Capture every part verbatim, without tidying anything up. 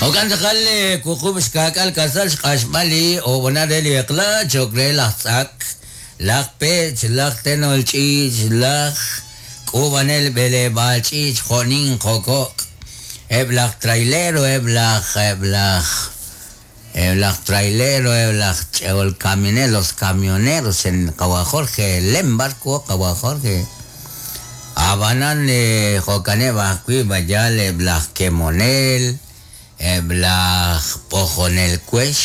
Jo'kan tz'aqal wuqub' xkaak'al kasal xq'axb'al li ob'ona re li eq'la cho'q re laj tz'ak, laj pech, laj tenol ch'iich, laj k'uub'anel b'eleb'aal ch'iich, jo'nin jo'kok', eb' laj trailero, eb' laj eb' laj eb' laj trailero, eb' laj ch'eol caminero, los camioneros en qawa Jorge Lembarco, qawa Jorge. Ab'anan jo'kaneb' ajwi' b'ayal eb' laj kemonel, eb' laj b'ojonel wex,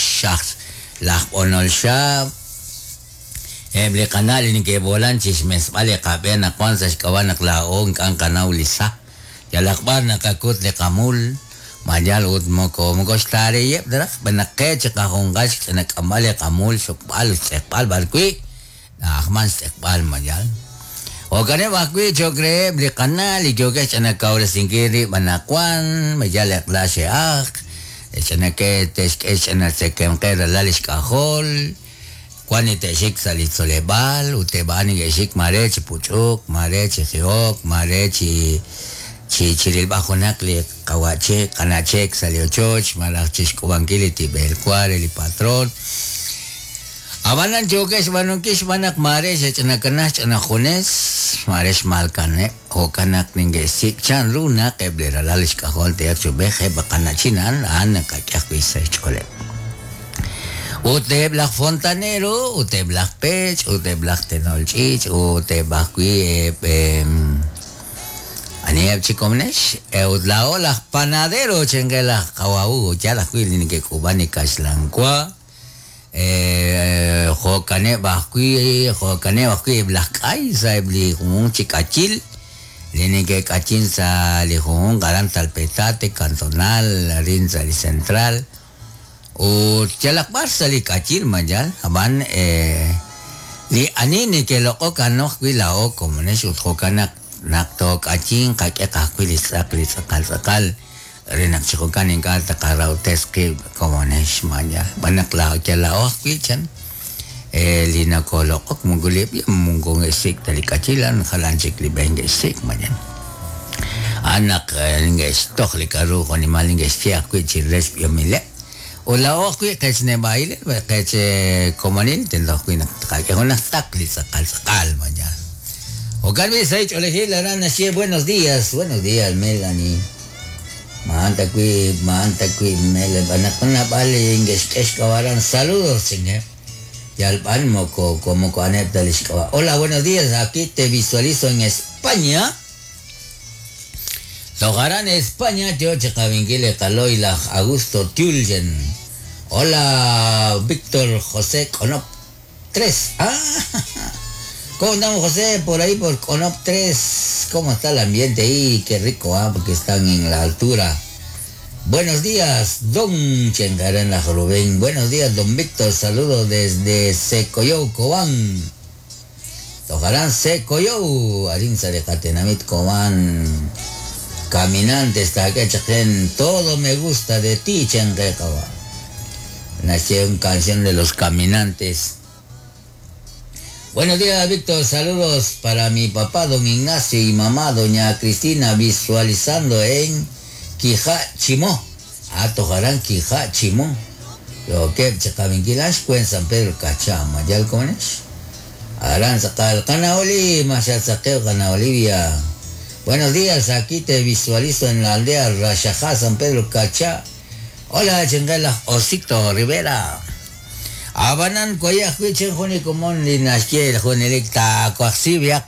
laj b'onol xaab', eb' li qana' li neke'b'oolan chi xmesb'al li qab'e naq wan sa' xk'ab'a' naq laa'o ink'a' nqanaw li sa, yalaq b'ar naqakut li qamul, mayal ut moko moko xtaareyeb' ta raj, b'an naq qe chi qajunqal xch'inak'amb'al li qamul, xokb'al, xtz'eqb'al b'ar wi', na'ajman xtz'eqb'al mayal. Jo'kaneb' ajwi' cho'q reheb' li qana' li yookeb' xch'inakawresinkil rib' anaqwan, mayal eq'la xe'ajk, ch'inake te'xk'e xch'inatzekemqe ralal li xk'ajol, wan li te'xik sa' li tzoleb'aal ut eb' a'an neke'xik mare chi puch'uk, mare chi jihok, mare chi chi chirilb'al junaq li qawa'chek, qana'chek sa' li ochoch, malaj chi xk'ub'ankil li tib'el wa re li patrón. Ab'anan yookeb' xb'aanunkil xb'aan naq mare xe'ch'inakanaj ch'ina junes, mare xmalkaneb', jo'kan naq neke'xsik' chanru naq eb' li ralal xk'ajol te'aq chub'ej eb' qana'chin a'an a'an naqak'e ajwi' sa' xch'ooleb'. Ut eb' laj fontanero, ut eb' laj pech, ut eb' laj tenol ch'iich, ut eb' ajwi' eb' aniheb' chi komnex, ut laa'o laj panadero chenke laj qawa yal ajwi' li neke'k'uub'an li kaxlan wa, jo'kaneb' ajwi' jo'kaneb' ajwi' eb' laj k'ay sa' eb' li junjunq chi k'ayil, li neke'k'ayin sa' li junjunq aran Talpetate, Cantonal, arin sa' li Central, ut yalaq b'ar sa' li k'ayil mayal, ab'an li ani neke'loq'ok a'an ajwi' laa'o komonex ut jo'kan naq naq took'ayin qak'e ajwi' li tz'aq li tz'aqal tz'aqal re naq chi jo'kan ink'a' taqarawtes qib' komonex mayal, b'an naq laa'o yal laa'o ajwi' chan li nakoloq'ok moko li moko nge'xsik' ta li k'ayil a'an jalan chik li b'e nge'xsik' mayal. A'an naq nge'xtoj li k'aru jo'nimal nge'xye ajwi' chi re xb'ihomileb'. Ut laa'o ajwi' qech neb'a'il, qech komonil, tento ajwi' naq tqak'e junaq tz'aq li tz'aqal tz'aqal mayal. Jo'kan b'i' sa' ch'oolejil aran naxye buenos días, buenos días Melanie. Ma'an takwi, ma'an takwi Mel, b'an naq nab'al nge'xk'e xk'ab'aran saludos chinge. Yal b'an moko moko aneb' ta li xk'ab'a'. Hola, buenos días, aquí te visualizo en España. Tojarán España, yo chiqawinkil qaloy laj Augusto Tiulchen. Hola, Víctor José Conop tres. Ah, ¿cómo andamos, José? Por ahí por Conop tres. ¿Cómo está el ambiente ahí? Qué rico, ah, porque están en la altura. Buenos días, don Chengarán la Rubén. Buenos días, don Víctor. Saludos desde Secoyou, Cobán. Tojarán Secoyou. Arinza de Catenamit, Cobán. Caminantes, Taquechajen, todo me gusta de ti, Chenguecawa. Nació una canción de los caminantes. Buenos días, Víctor. Saludos para mi papá, don Ignacio, y mamá, doña Cristina, visualizando en Quijá Chimó. Ah, tojarán Quijá Chimó. Lo que Chacaminquilash, cuen San Pedro Cachama. ¿Ya lo comes? Arán Sacal, Canaoli, Machazaqueo, Cana Olivia. Buenos días, aquí te visualizo en la aldea Rayajá, San Pedro Cachá. Hola, Chenguela, Osito Rivera. Abanan koyaj wi chen juni komon li naxye jun elik ta kuajsi